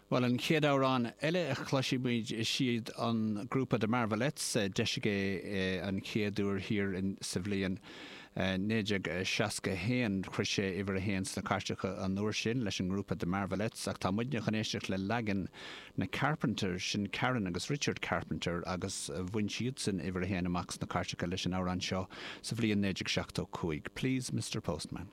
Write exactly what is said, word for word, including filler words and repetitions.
Well an chéad amhrán eile a chloisfimid is iad an grúpa The Marvelettes d'eisigh é an chéad uair thiar sa bhliain naoi déag seasca haon chuir sé uimhir a haon sna cairteacha an uair sin leis an ngrúpa The Marvelettes ach tá muidne chun éisteacht le leagan na Carpenters sin Karen agus Richard Carpenter agus bhain siadsan uimhir a haon amach sna cairteacha leis an amhrán seo sa bhliain naoi déag seachtó cúig. Please Mr. Postman.